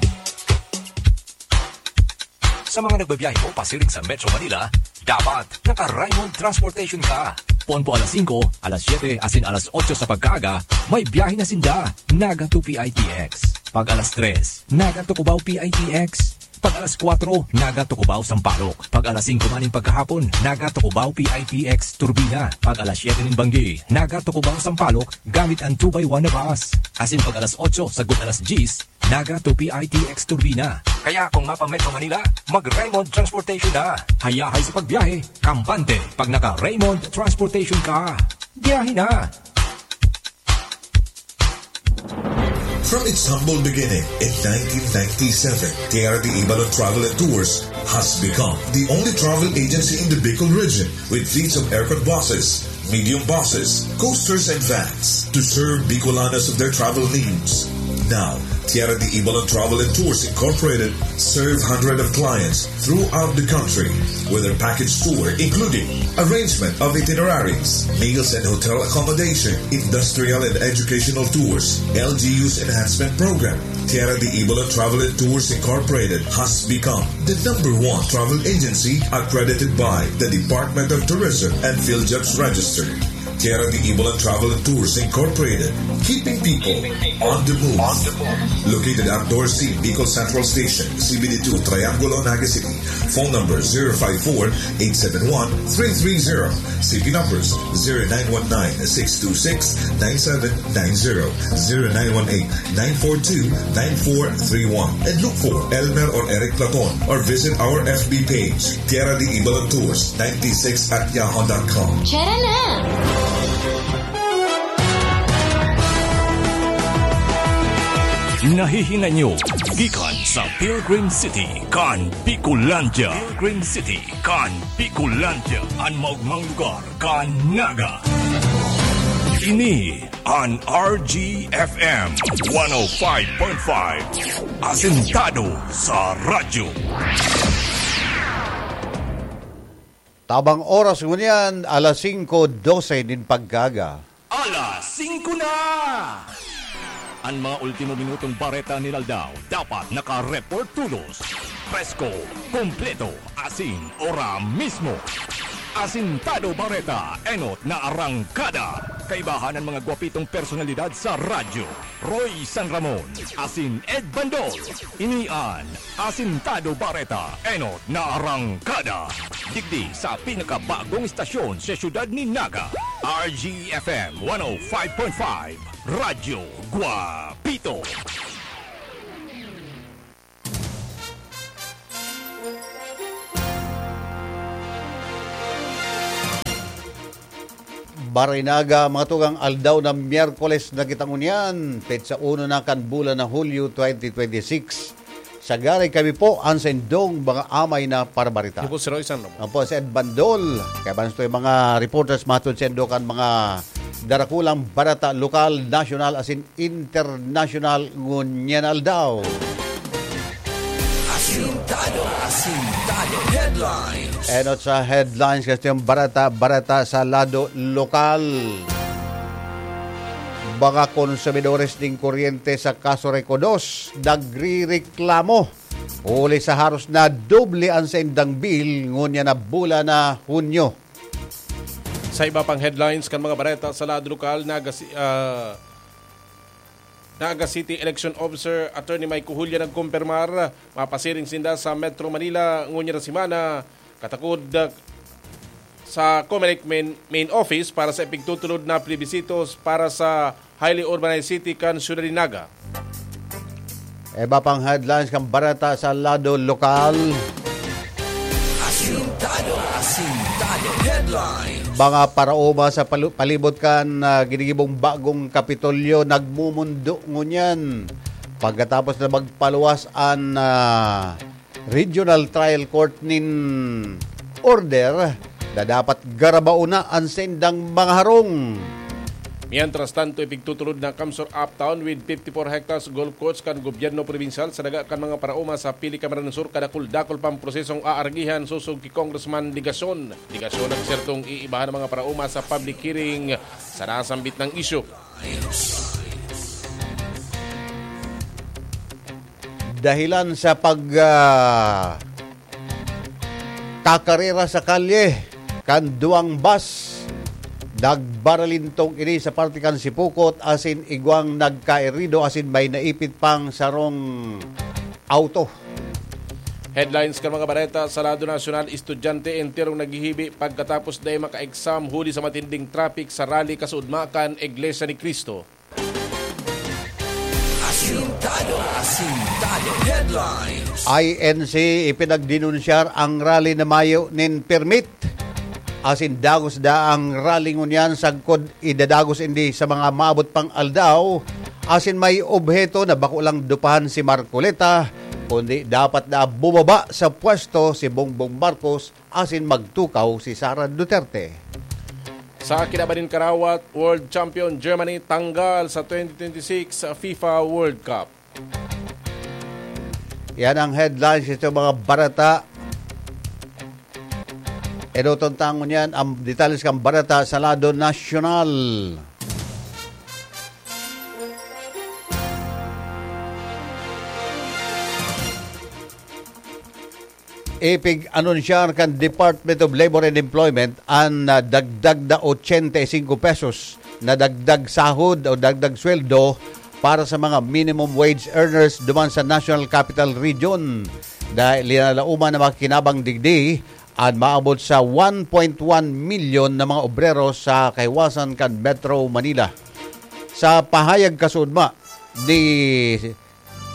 Sa mga nagbabiyahe po pasiring sa Metro Manila, dapat naka-Raymond Transportation ka. Pon po alas singko, alas siyete, asin alas otso sa pagkaaga, may biyahe na sinda. Naga to P I T X. Pag alas tres, Naga to Cubao P I T X. Pag alas kwatro, Naga to Cubao Sampaloc. Pag alas singko man nin pagkahapon, Naga to Cubao P I T X Turbina. Pag alas siyete nin banggi, Naga to Cubao Sampaloc gamit ang two by one na bus. Asin pag alas otso sagkod alas dyes, Naga to P I T X Turbina. Kaya kung mapa-Metro Manila, mag-Raymond Transportation na. Hayahay sa pagbiyahe, kampante. Pag naka-Raymond Transportation ka, biyahe na. From its humble beginning in nineteen ninety-seven, Tierra de Ibalon Travel and Tours has become the only travel agency in the Bicol region with fleets of aircon buses, medium buses, coasters, and vans to serve Bicolanos of their travel needs. Now, Tierra de Ibalon Travel and Tours Incorporated serve hundreds of clients throughout the country with their package tour, including arrangement of itineraries, meals and hotel accommodation, industrial and educational tours, L G U's enhancement program. Tierra de Ibalon Travel and Tours Incorporated has become the number one travel agency accredited by the Department of Tourism and PhilJobs Register. Tierra de Ibalon Travel and Tours Incorporated, keeping people on the move. Located at Door C, Bicol Central Station, C B D two, Triangulo, Naga City. Phone number zero five four, eight seven one, three three zero. C P numbers zero nine one nine, six two six, nine seven nine zero, zero nine one eight, nine four two, nine four three one. And look for Elmer or Eric Platon or visit our F B page, Tierra de Ibalon Tours ninety-six at yahoo dot com. Tara na! Nahihinay nyo gikan sa Pilgrim City kan Bicolandia. Pilgrim City kan Bicolandia, an maogmang lugar kan Naga. Ini an R G F M one oh five point five. Asentado sa radyo. Tabang oras ngunyan, alas singko dose nin pagkaga. Alas singko na! An mga ultimo minutong bareta nin aldaw dapat naka-report tolos, presko, kompleto, asin ora mismo. Asintado Bareta, enot na arangkada. Kaibahan an mga gwapitong personalidad sa radyo, Roy San Ramon asin Ed Bandol. Ini an Asintado Bareta, enot na arangkada. Digdi sa pinakabagong istasyon sa siyudad ni Naga, R G F M one oh five point five, Radyo Guapito. Barinaga, mga tugang, aldaw na Miyerkules na kita ngunyan, petsa uno na kan bulan na Hulyo twenty twenty-six. Sagari kami po an saindong mga amay na parabarita. Ako po si Roy San Ramon. Ako po si Ed Bandol. Kaya bansto yung mga reporters matod sa indo kan mga darakulang barata lokal, nasyonal, asin internasyonal ngunyan aldaw. Asintado, Asintado Headlines. Enot sa headlines, kastong barata-barata sa lado lokal. Mga konsumidores nin kuryente sa Casureco dos nagrireklamo huli sa haros na doble an saindang bill ngunyan na bulan na Hunyo. Sa iba pang headlines kan mga bareta sa lado lokal, nagasi-, ah, Naga City Election Officer Attorney Mike Cojulia nagkumpirmar, mapasiring sinda sa Metro Manila ngunyan na semana, katakod, ah, sa Comelec main, main office para sa ipigtutulod na plebisito para sa highly urbanized city kan siyudad nin Naga. Iba pang headlines kan bareta sa lado lokal. Asintado, Asintado Headlines. Mga paraoma sa palu-, palibot kan, ah, ginigibong bagong Kapitolyo nagmumundo ngunyan. Pagkatapos na magpaluwas an, ah, Regional Trial Court nin order na dapat garabaon na an saindang mga harong. Mientras tanto, ipigtutulod na CamSur Uptown with fifty-four hectares golf course kan gobyerno probinsyal sa daga kan mga paraoma sa Pili Camarines Sur, kadakul-dakul pang prosesong aargihan sosog ki Congressman Legacion. Legacion nagsertong iibahan ang mga paraoma sa public hearing sa nasambit na isyu. Dahilan sa pag, ah, kakarera sa kalye kan duwang bus, nagbaralintog ini sa parte kan Sipocot asin igwang nagkairido asin may naipit pang sarong auto. Headlines kan mga bareta sa lado nasyonal: estudyante enterong naghihibi pagkatapos dai maka-exam huli sa matinding traffic sa rally kasuodma kan Iglesia ni Cristo. Asintado, Asintado Headlines. I N C, ipinagdenunsyar ang rally na mayo nin permit. Asin dagos da ang rally ngunyan sagkod idadagos ini sa mga maabot pang aldaw. Asin may obheto na bako lang dupahan si Marcoleta, kundi dapat na bumaba sa pwesto si Bongbong Marcos asin magtukaw si Sara Duterte. Sa kinaban nin karawat, world champion Germany tanggal sa twenty twenty-six FIFA World Cup. Yan ang headlines sa mga barata. Edoton tangon yan ang detalles kan barata sa lado nasyonal. Ipig-anunsyar kan Department of Labor and Employment an, ah, dagdag na ochenta y cinco pesos na dagdag sahod o dagdag sweldo para sa mga minimum wage earners duman sa National Capital Region. Dahil linalauman na makinabang digdi an maabot sa one point one milyon na mga obrero sa kahiwasan kan Metro Manila. Sa pahayag kasuodma ni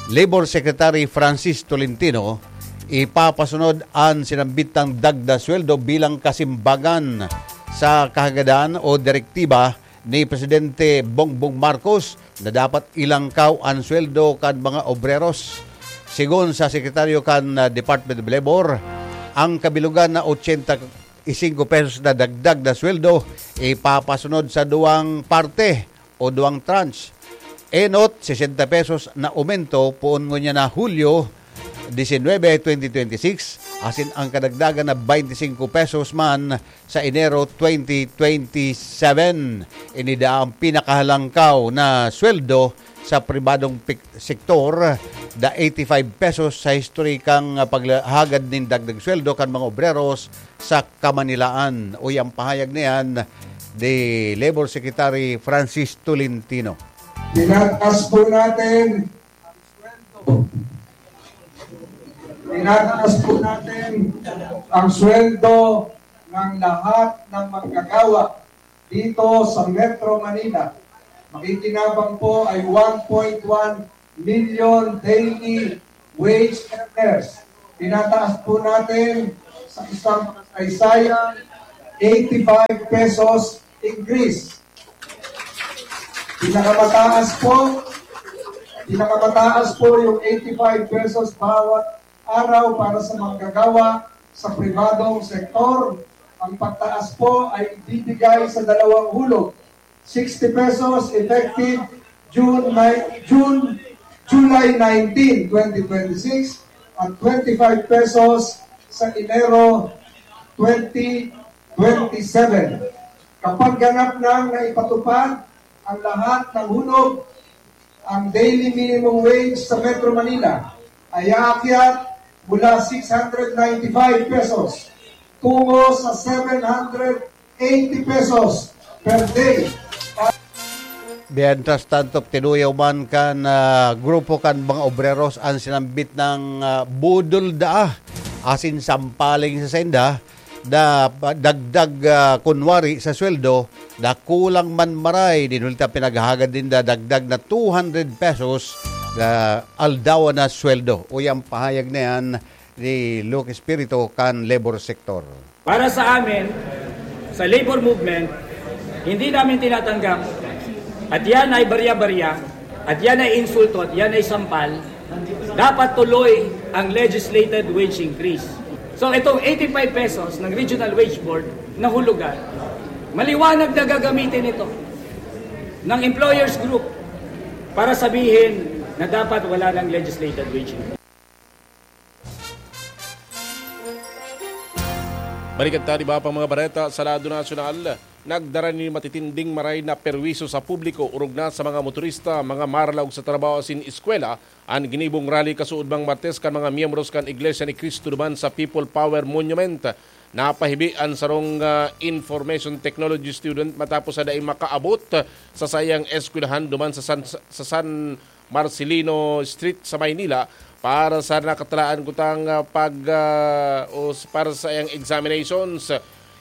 Labor Secretary Francis Tolentino, ipapasunod an sinambitang dagdag sweldo bilang kasimbagan sa kahagadan o direktiba ni Presidente Bongbong Marcos na dapat ilangkaw an sweldo kan mga obreros. Sigon sa sekretaryo kan, ah, Department of Labor, ang kabilogan na ochenta y cinco pesos na dagdag na sweldo ipapasunod sa duwang parte o duwang tranche. Enot, sesenta pesos na aumento poon ngunyan na Hulyo disinwebe, twenty twenty-six, asin ang kadagdagan na baynte singko pesos man sa Enero twenty twenty-seven. Ini daa ang pinakahalangkaw na sweldo sa pribadong pik-, sektor, da eighty-five pesos sa historikang, ah, paghagad nin dagdag sweldo kan mga obreros sa Kamanilaan. Uya ang pahayag niyan ni Labor Secretary Francis Tolentino. Tinataas po natin ang sweldo. Tinataas po natin ang sweldo ng lahat ng manggagawa dito sa Metro Manila. Makikinabang po ay one point one million daily wage earners. Tinataas po natin sa isang kasaysayan, eighty-five pesos increase. Pinakamataas po, pinakamataas po yung eighty-five pesos bawat araw para sa manggagawa sa pribadong sektor. Ang pagtaas po ay ibibigay sa dalawang hulog. Sixty pesos effective June, ni-, June, July nineteen, twenty twenty-six at twenty-five pesos sa Enero twenty twenty-seven. Kapag ganap nang naipatupad ang lahat ng hulog, ang daily minimum wage sa Metro Manila ay aakyat mula six hundred ninety-five pesos tungo sa seven hundred eighty pesos per day. Mientras tanto, tinuyaw man kan, ah, grupo kan mga obreros an sinambit na, ah, budol daa asin sampaling sa sainda na pa-, dagdag, ah, kunwari sa sweldo, na kulang man maray, dinulta pinaghahagad ninda dagdag na two hundred pesos na aldaw na sweldo. Uya ang pahayag na yan ni Luke Espiritu kan labor sector. Para sa amin, sa labor movement, hindi namin tinatanggap at yan ay barya-barya, at yan ay insulto, at yan ay sampal. Dapat tuloy ang legislated wage increase. So itong eighty-five pesos ng Regional Wage Board na hulugan, maliwanag na gagamitin ito ng employers group para sabihin na dapat wala ng legislated wage increase. Balikan ta an iba pang mga bareta sa lado nasyonal. Nagdara nin matitinding maray na perwisyo sa publiko, orog na sa mga motorista, mga maralaog sa trabaho asin eskwela, an ginibong rally kasuodmang Martes kan mga miyembros kan Iglesia ni Cristo duman sa People Power Monument. Napahibi an sarong, ah, information technology student matapos sa dai makaabot sa saiyang eskwelahan duman sa San, sa San Marcelino Street sa Maynila para sa nakatalaan kutang, ah, pag, ah, o s-, para sa iyang examinations.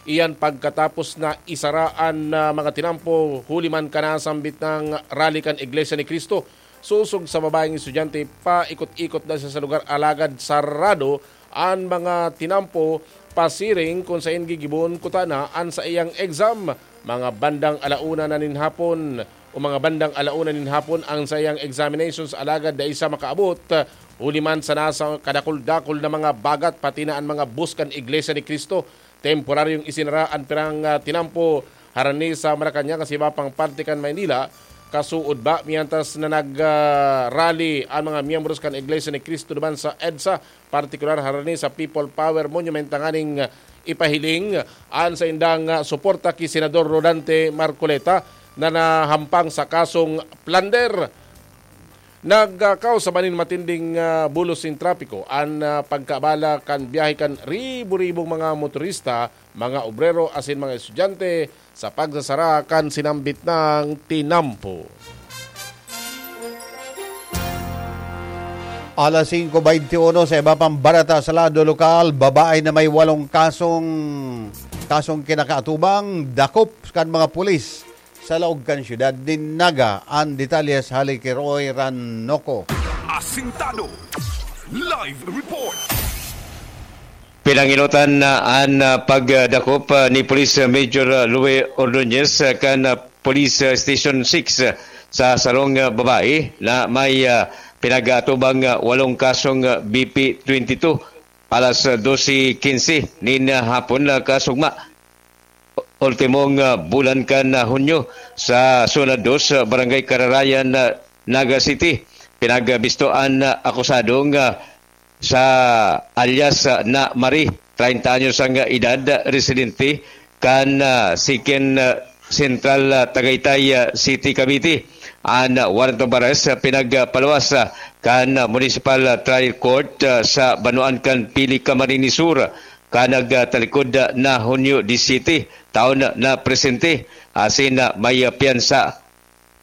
Iyan pagkatapos na isara an, ah, mga tinampo huli man kan nasambit na rally kan Iglesia ni Cristo. Sosog sa babaeng estudyante, paikot-ikot na siya sa lugar, alagad sarado an mga tinampo pasiring kun saen gigibohon kutana an saiyang exam. Mga bandang ala una na nin hapon o mga bandang ala una nin hapon ang saiyang examinations, alagad dai siya makaabot, huli man sa nasa kadakul-dakul na mga bagat, pati na an mga bus kan Iglesia ni Cristo. Temporaryong isinara an pirang, ah, tinampo harani sa Malacañang asin iba pang parte kan Maynila. Kasuod ba, mientras na nag, ah, rally an mga miyembros kan Iglesia ni Cristo duman sa EDSA, partikular harani sa People Power Monument, tanganing ipahiling an saindang, ah, suporta ki Senador Rodante Marcoleta na nahampang sa kasong plunder. Nagkakaos sa banin matinding, ah, bulos nin trapiko an, ah, pagkaabala kan biyahe kan ribo-ribong mga motorista, mga obrero asin mga estudyante sa pagsasara kan sinambit na tinampo. Alas singko beinti uno, sa iba pang bareta sa lado lokal, babae na may walong kasong, kasong kinakaatubang dakop kan mga pulis sa laog kan siyudad nin Naga. An detalye sa hali ki Roy Ranoco. Asintado. Live report. Pinangilotan na an, ah, pagdakop, ah, ni Police Major, ah, Louie Ordonez, ah, kan, ah, Police, ah, Station six, ah, sa sarong, ah, babae na may, ah, pinag-aatubang, ah, walong kasong, ah, B P twenty-two, alas, ah, dose quince nin, ah, hapon, ah, kasugma. Ultimong, ah, bulan kan, ah, Hunyo, sa Zona dos, ah, Barangay Kararayan, ah, Naga City, pinagbisto an, ah, akusadong, ah, sa alias, ah, na Marie, treinta anyos ang, ah, edad, ah, residente kan, ah, second, ah, Central, ah, Tagaytay, ah, City, Cavite. An, ah, warrant of arrest, ah, pinagpaluwas, ah, kan, ah, Municipal, ah, Trial Court, ah, sa banwaan kan Pili, Camarines Sur, kan nagtalikod, ah, na Hunyo disisiete, taon na presente, asin, ah, may, ah, piyansa,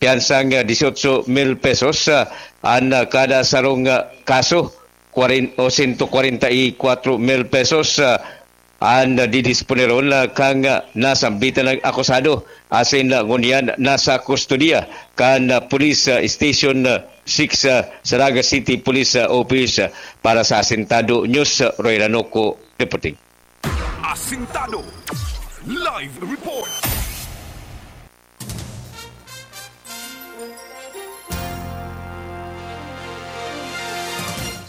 piyansang, ah, dieciocho mil pesos, ah, an, ah, kada sarong, ah, kaso, kwarin-, o sento kwarenta y kwatro mil pesos, ah, an didisponeron, ah, kan, ah, nasambitan na akusado, asin, ah, ngunyan nasa kustodiya kan, ah, Police, ah, Station, ah, six, ah, sa Naga City Police, ah, Office, ah, para sa Asintado News, ah, Roy Ranoco reporting. Asintado Live Report.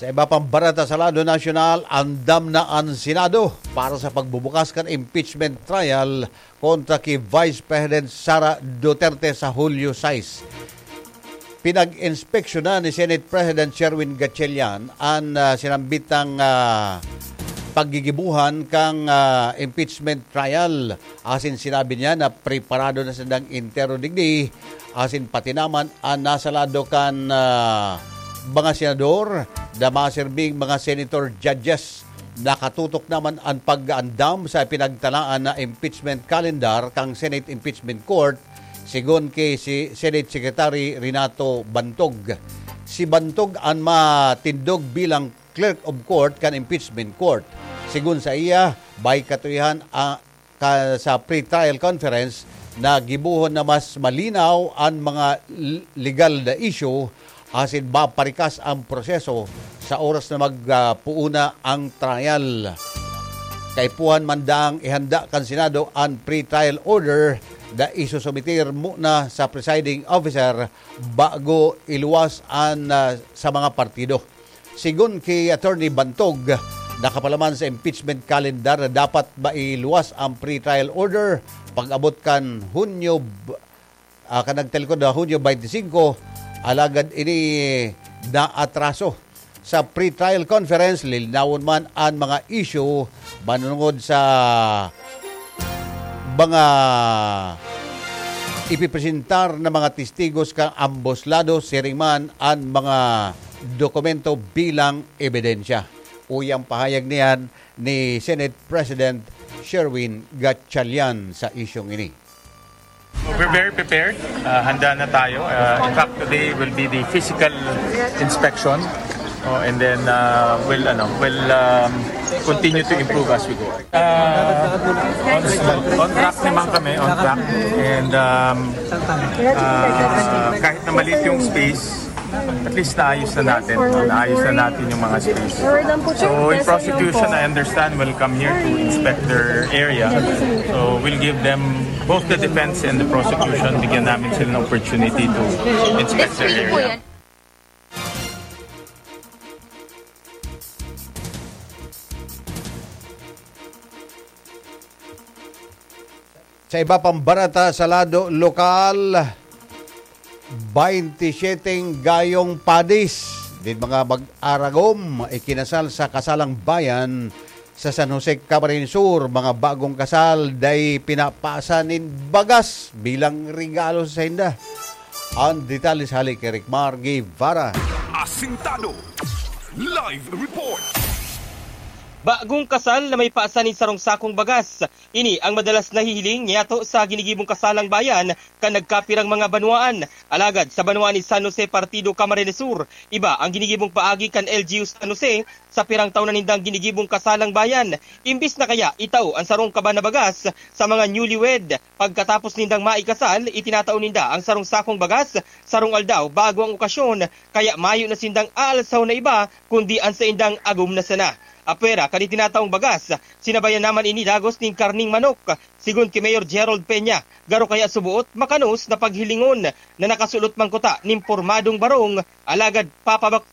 Sa iba pang bareta sa lado nasyonal, andam na an Senado para sa pagbubukas kan impeachment trial kontra ki Vice President Sara Duterte sa Hulyo sais. Pinag-inspeksyonan ni Senate President Sherwin Gatchalian an, ah, sinambitang, ah, paggigibohan kan, ah, impeachment trial. Asin sinabi niya na preparado na sindang entero digdi, asin pati naman an nasa lado kan, ah, mga senador na maserbing mga senator judges. Nakatutok naman an pag-aandam sa pinagtalaan na impeachment calendar kan Senate Impeachment Court, sigon ki si Senate Secretary Renato Bantog. Si Bantog an matindog bilang Clerk of Court kan Impeachment Court. Sigon sa iya, may katuyahan, ah, ka, sa pre-trial conference na gibohon na mas malinaw an mga l-, legal na issue asin maparikas ang proseso sa oras na magpuuna ang trial. Kaipuhan man daang ihanda kan Senado an pre-trial order na isusumitir muna sa presiding officer bago iluwas an, ah, sa mga partido. Sigon ki Attorney Bantog, nakapalaman sa impeachment calendar na dapat mailuwas ang pre-trial order pag-abot kan Hunyo b-, ah, kan nagtalikod na Hunyo twenty-five, alagad ini naatraso. Sa pre-trial conference, lilinawon man an mga issue manungod sa mga ipipresentar na mga testigos kan ambos lado, siring man an mga dokumento bilang ebidensya. Uya an pahayag niyan ni Senate President Sherwin Gatchalian sa isyung ini. We're very prepared. Uh, handa na tayo. Uh, in fact, today will be the physical inspection. Oh, and then, uh, we'll, ano, we'll, um, continue to improve as we go. Uh, on, on track naman kami, on track. And, um, uh, kahit na maliit yung space, at least naayos na natin. Naayos na natin yung mga space. So, in prosecution, I understand, will come here to inspect their area. So, we'll give them, both the defense and the prosecution, bigyan namin sila ng opportunity to inspect their area. Sa iba pang bareta sa lado lokal, baynti siyete gayong padis nin mga mag-aragom ikinasal sa Kasalang Bayan sa San Jose, Camarines Sur. Mga bagong kasal dai pinapasa nin bagas bilang regalo sa sainda. Ang detalye sa hali ki Ricmar Guevara. Asintado Live Report. Bagong kasal na may pasa nin sarong sakong bagas. Ini ang madalas nahihiling niyato sa ginigibong kasalang bayan kan nagkapirang mga banwaan. Alagad sa banwaan ni San Jose, Partido Camarines Sur, iba ang ginigibong paagi kan L G U San Jose. Sa pirang taon na nindang ginigibong kasalang bayan, imbis na kaya itao ang sarong kaban na bagas sa mga newlywed, pagkatapos nindang maikasal, itinatao ninda ang sarong sakong bagas, sarong aldaw bago ang okasyon, kaya mayo na sindang aalsahon na iba, kundi ang saindang agom na sana. Apwera kan itinataong bagas, sinabayan naman ini dagos nin karning manok. Sigon ki Mayor Gerald Peña, garo kaya suboot makanos na paghilingon na nakasulot man kuta nin pormadong barong, alagad papabak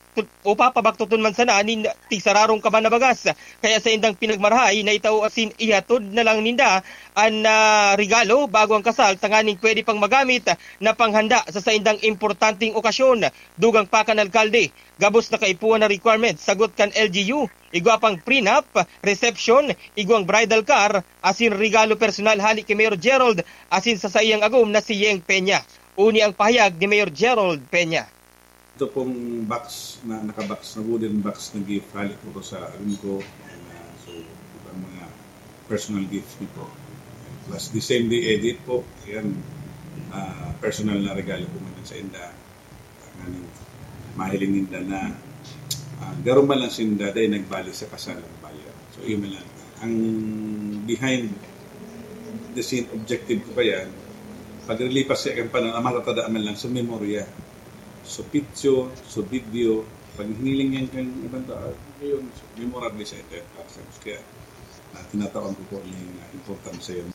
o papabaktoton man sana nin tigsararong kaban na bagas. Kaya saindang pinagmarahay na itao asin ihatod na lang ninda an, ah, regalo bago ang kasal, tanganing pwede pang magamit na panghanda sa saindang importanteng okasyon. Dugang pa kan alkalde, gabos na kaipuhan na requirements sagot kan L G U, igwa pang prenup, reception, igwang bridal car, asin regalo personal hali ki Mayor Gerald asin sa saiyang agom na si Yeng Peña. Uni ang pahayag ni Mayor Gerald Peña. Ito pong box, na naka-box, na wooden box na gift, hali po ko sa agom ko. And, ah, so, ito ang mga personal gift niyo po. Plus, the same day edit po. Yan, ah, personal na regalo po man sa inda. Nganing mahiling ninda na, ah, garo man lang sinda dahil nagbali sa kasal ang bayan. So, yun man lang. Ang behind the scene objective ko pa yan, paglilipas sa iyang panahon, ang matatandaan man lang sa memorya. So, picture, so, video, pag hiniling yan kang ibang tao, yun, so, memorable sa ito para sa kaya, ah, tinatawan ko po yung, ah, importansya yun.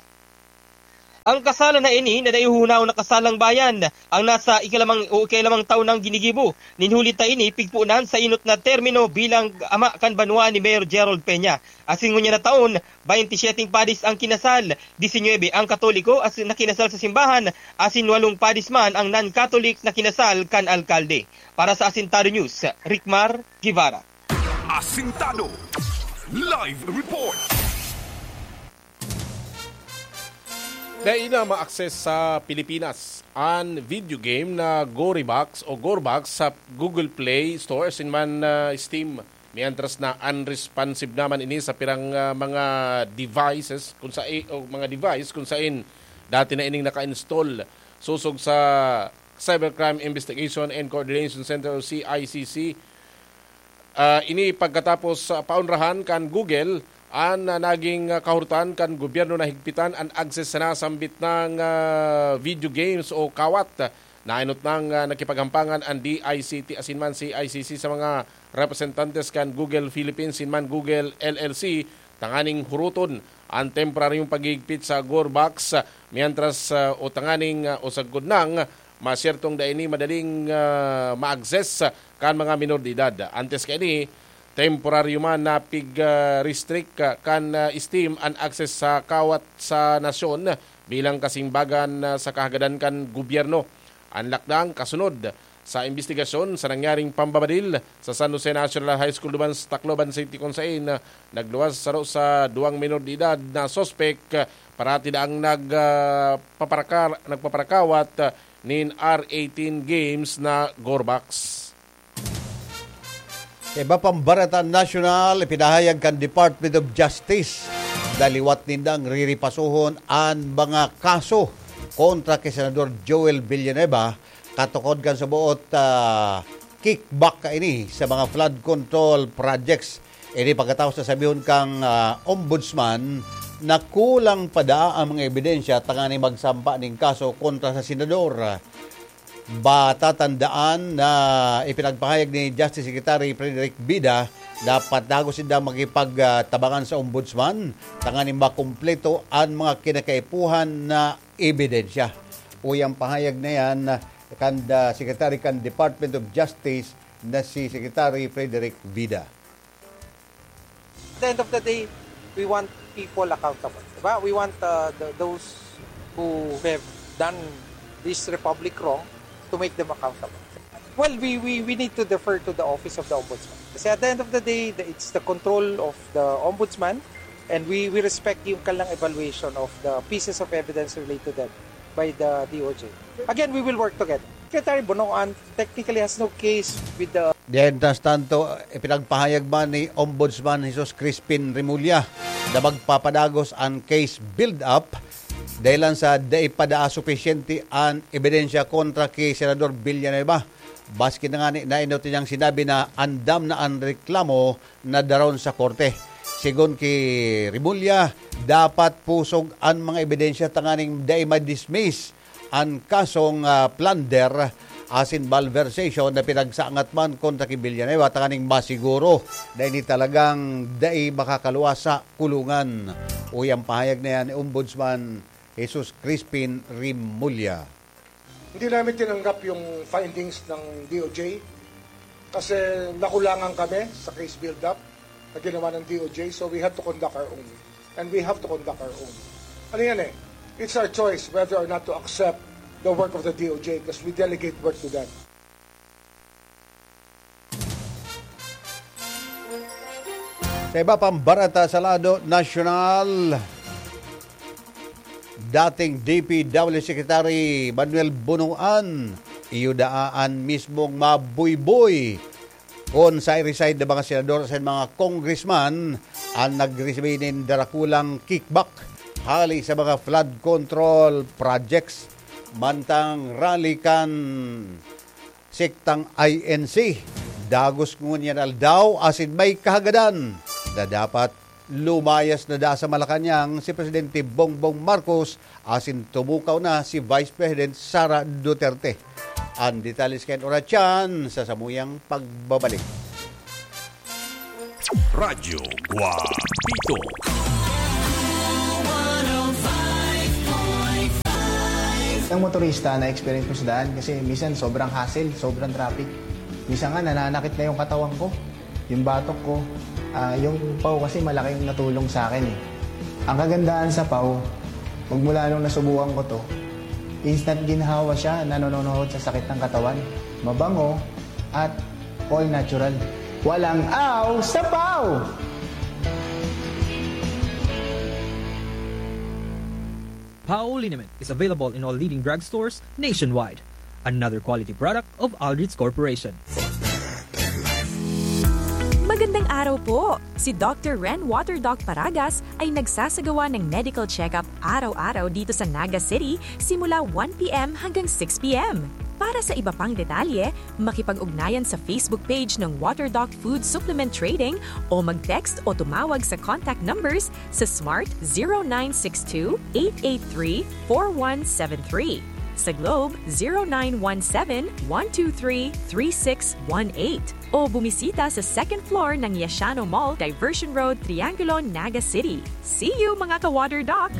Ang kasalan na ini na naihunaw na kasalang bayan ang nasa ikalamang o ikalamang taon nang ginigibo. Nin huli ta ini, pigpunan sa inot na termino bilang ama kan banwa ni Mayor Gerald Peña. Asin ngunyan na taon, baynte syeteng padis ang kinasal, disinuyebe ang Katoliko as na kinasal sa simbahan, asin walong padis man ang non-Catholic na kinasal kan alkalde. Para sa Asintado News, Rickmar Guevara. Asintado Live Report. Dai na ma-access sa Pilipinas an video game na Gorybox o Gorebox sa Google Play Store asin man, ah, Steam. Mientras na unresponsive naman ini sa pirang, ah, mga devices kung sa o mga device kung sain dati na ining naka-install. Sosog sa Cybercrime Investigation and Coordination Center o C I C C, Ah, ini pagkatapos, ah, paonrahan kan Google an, ah, naging, ah, kahurotan kan gobyerno na higpitan an access sa nasambit nang, ah, video games o kawat. Nainot nang, ah, nakipaghampangan an D I C T asin man C I C C sa mga representantes kan Google Philippines asin man Google L L C tanganing huroton an temporaryong paghihigpit sa Gore Box, ah, mientras, ah, o tanganing, ah, o sagkod nang masyertong dai ini madaling, ah, ma-access kan mga minor de edad. Antes kaini, temporaryo man na pig, ah, restrict, ah, kan, ah, Steam an access sa kawat sa nasyon bilang kasimbagan, ah, sa kahagadan kan gobyerno. An lakdang kasunod sa imbestigasyon sa nangyaring pambabadil sa San Jose National High School duman sa Tacloban City, kun sain, ah, nagluwas saro sa duwang minor de edad na suspek, ah, parati daang nag, ah, paparaka-, nagpaparakawat, ah, nin R eighteen games na Gorebox. Sa iba pang bareta nasyonal, ipinahayag kan Department of Justice na liwat nindang riripasohon an mga kaso kontra ki Senador Joel Villanueva katukod kan suboot, ah, kickback kaini sa mga flood control projects. Ini pagkatapos na sabihon kang, ah, ombudsman na kulang pa daa ang mga ebidensya tanganing magsampa nin kaso kontra sa senador. Matatandaan na ipinagpahayag ni Justice Secretary Frederick Vida na padagos sinda makipagtabangan sa ombudsman tanganing makumpleto an mga kinakaipuhan na ebidensya. Uy, ang pahayag na yan kan, ah, Secretary kan Department of Justice na si Secretary Frederick Vida. At the end of the day, we want people accountable. Diba? We want, uh, the, those who have done this republic wrong to make them accountable. Well, we, we, we need to defer to the Office of the Ombudsman. Kasi at the end of the day, the, it's the control of the Ombudsman, and we, we respect yung kanilang evaluation of the pieces of evidence related to them by the D O J. Again, we will work together. Secretary Bonoan technically has no case with the Mientras tanto, ipinagpahayag man ni Ombudsman Jesus Crispin Remulla na magpapadagos an case build-up dahilan sa dai pa daa supisyente an ebidensya kontra ki Senador Villanueva. Maski na ngani, nainot niyang sinabi na andam na an reklamo na daron sa korte. Sigon ki Remulla, dapat pusog an mga ebidensya tanganing dai ma-dismiss an kasong, ah, plunder asin malversation na pinagsangat man kontra ki Villanueva tanganing masiguro na ini talagang dai makakaluwas sa kulungan. Uy, ang pahayag na yan ni Ombudsman Jesus Crispin Remulla. Hindi namin tinanggap yung findings ng D O J. Kasi nakulangan kami sa case build-up na ginawa ng D O J, so we have to conduct our own. And we have to conduct our own. Ano yan eh? It's our choice whether or not to accept the work of the D O J because we delegate work to them. Sa iba pang barata sa lado nasyonal, dating D P W Secretary Manuel Bunuan, iyo daa an mismong mabuyboy kun sa i-resign na mga senador sa mga congressman ang nagresibi nin darakulang kickback hali sa mga flood control projects mantang rally kan sektang I N C. Dagos ngunyan aldaw asin may kahagadan na dapat lumayas na da sa Malacañang si Presidente Bongbong Marcos asin tumukaw na si Vice President Sara Duterte. Ang detalye kan oras sa samuyang pagbabalik. Radyo Guapito. Ang motorista na experience ko sa daan kasi minsan sobrang hassle, sobrang traffic. Minsan nga nananakit na yung katawan ko, yung batok ko. Uh, yung pau kasi malaking natulong sa akin eh. Ang kagandahan sa pau, magmula nung nasubukan ko to, instant ginhawa siya, nanononohod sa sakit ng katawan. Mabango at all natural. Walang aw sa pau! Pau liniment is available in all leading drugstores nationwide. Another quality product of Aldrich Corporation. Magandang araw po! Si Doctor Ren Water Doc Paragas ay nagsasagawa ng medical check-up araw-araw dito sa Naga City simula one p.m. hanggang six p.m. Para sa iba pang detalye, makipag-ugnayan sa Facebook page ng Water Doc Food Supplement Trading o mag-text o tumawag sa contact numbers sa Smart zero nine six two, eight eight three, four one seven three. Sa Globe, zero nine one seven, one two three, three six one eight. O bumisita sa second floor ng Yashano Mall, Diversion Road, Triangulo, Naga City. See you, mga ka-Water Doc!